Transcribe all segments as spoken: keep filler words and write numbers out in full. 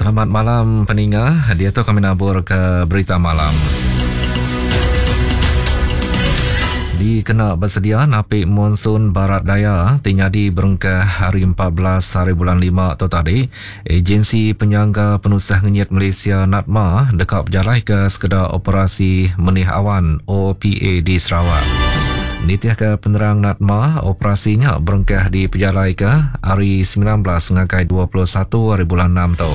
Selamat malam peninga, dia tu kami nabur ke berita malam. Dikena bersedia napi monsun barat daya ti nyadi berengkah hari empat belas hari bulan lima tu tadi, Agensi Penyangga Penusah Ngenyit Malaysia NADMA dekat berjalai ke sekedar operasi Menih Awan O P A di Sarawak. Nitih ke penerang NADMA, operasinya berengkah di pejalai ke hari sembilan belas ngagai dua puluh satu hari bulan enam tu.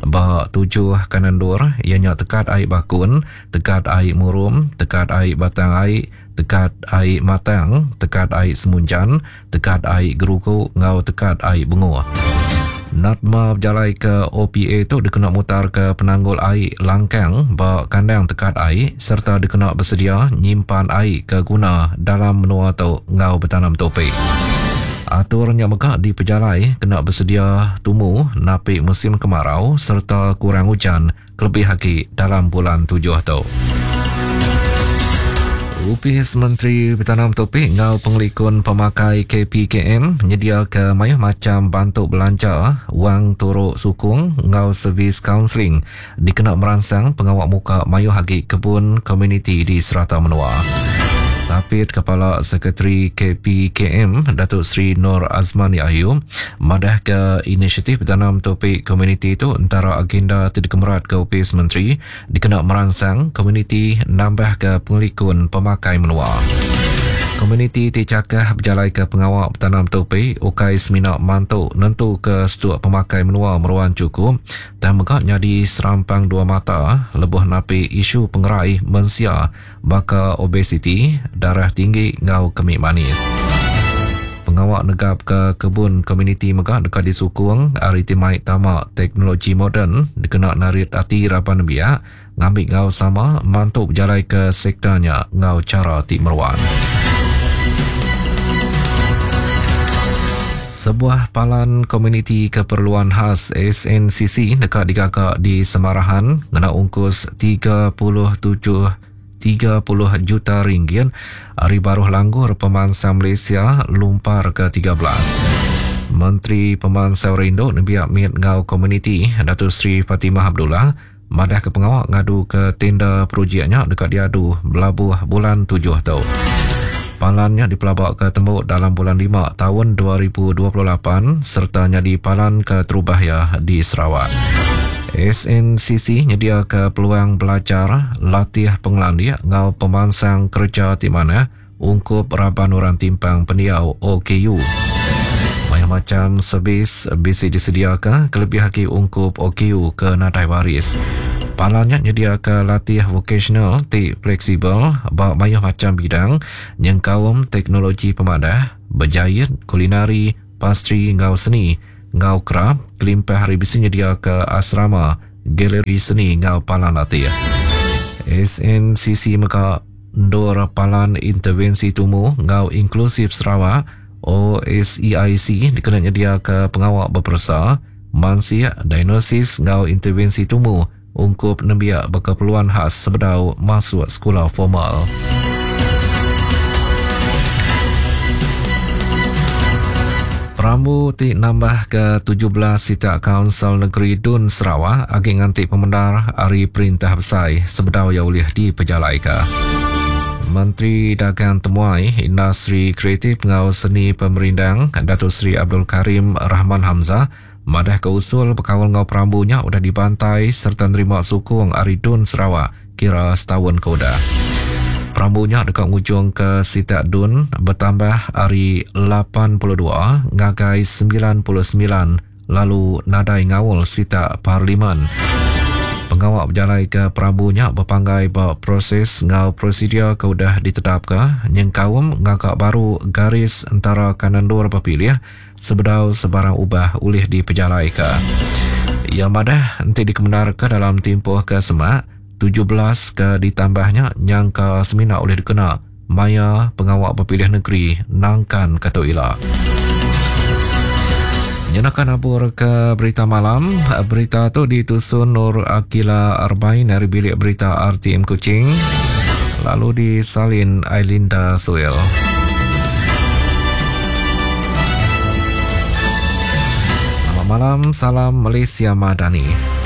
Ba tujuh kanandur, ianya tekat air Bakun, tekat air Murum, tekat air Batang Air, tekat air Matang, tekat air Semunjan, tekat air Gerugu ngau tekat air Benguh. NADMA berjalai ke O P A tu dikena mutar ke penanggul air langkang ba kandang tekat air serta dikena bersedia nyimpan air ke guna dalam menua tu ngau bertanam topi. Aturnya mega di pejalai kena bersedia tumu napi musim kemarau serta kurang hujan kelebih lagi dalam bulan tujuh tu. Upis Menteri Bertanam Topi ngau Pengelikun Pemakai K P K M menyedia ke mayuh macam bantu belanja, wang turuk sukung ngau servis kaunseling dikena merangsang pengawak muka mayuh agi kebun komuniti di serata menua. Sapit Kepala Sekretari K P K M Datuk Seri Nur Azman Yahyu madah ke inisiatif bertanam topik komuniti itu antara agenda tidak kemerat ke Upis Menteri dikena merangsang komuniti nambah ke pengelikun pemakai menua. Komuniti ti cakah berjalai ke pengawak bertanam topi ukai semina mantu nentu ke setuk pemakai menua meruan cukup dan megak nyadi serampang dua mata lebuh napi isu pengerai mensia baka obesiti, darah tinggi ngau kemik manis. Pengawak negap ke kebun komuniti megak dekat disukung hari timai tamak teknologi moden dikena narit hati raban biak ngambil ngau sama mantu berjalai ke sektornya ngau cara ti meruan. Sebuah palan komuniti keperluan khas S N C C dekat digagak di Semarahan ngena ungkus tiga puluh tujuh tiga puluh juta ringgit hari baruh langgur pemansang Malaysia lumpar ke tiga belas. Menteri Pemansang Rindu Nebiak Miet Ngau Komuniti Datuk Seri Fatimah Abdullah madah ke pengawak ngadu ke tenda projeknya dekat diadu belabuh bulan tujuh tu. Palannya dipelabak ke tembok dalam bulan lima tahun dua ribu dua puluh lapan serta nyadi palan ke terubah di Sarawak. S N C C nyedia ke peluang belajar latih pengelandia ngau pemansang kerja ti mana ungkup raban orang timpang pendiau O K U. Banyak macam servis bisi disediakan kelebih haki ungkup O K U ke nadai waris. Palannya nyedia ke latih vocational ti fleksibel ba mayuh macam bidang nyengkaum teknologi pemadah, berjahit, kulinari, pastri ngau seni, ngau kerap, kelimpah hari bisi nyedia ke asrama, galeri seni ngau palan latih. S N C C mega ndur palan intervensi tumu ngau inklusif Sarawak O S E I C dikena nyedia ke pengawak berpersa, mansia, diagnosis ngau intervensi tumu ungkup nembiak berkeperluan khas sebedau masuk sekolah formal. Perambu ti nambah ke tujuh belas sitak Kaunsil Negeri Dun Sarawak agi nganti pemendar hari Perintah Besai sebedau ia ulih dipejalaika. Menteri Dagang Temuai, Industri Kreatif Ngau Seni Pemerindang Datuk Seri Abdul Karim Rahman Hamzah madah ke usul berkawal ngau perambunya udah dibantai serta nerima sukung ari Dun Sarawak kira setahun ke udah. Perambunya dekat ngujung ke sitak Dun bertambah ari lapan puluh dua ngagai sembilan puluh sembilan lalu nadai ngawal sitak parlimen. Pengawak berjalai ke perambunya berpanggai ba proses ngau prosedur ke udah ditetapka nyengkaum ngagak baru garis antara kanan dua berpilih sebedau sebarang ubah ulih dipejalaika. Yang madah nanti dikemenarkan dalam tempoh ke semak tujuh belas ke ditambahnya nyangka semina oleh dikena maya pengawak berpilih negeri nangkan ketu ila. Nyenakan abur ke berita malam. Berita tu ditusun Nur Akila Arbain dari bilik berita R T M Kuching, lalu disalin Ailinda Suel. Selamat malam, salam Malaysia Madani.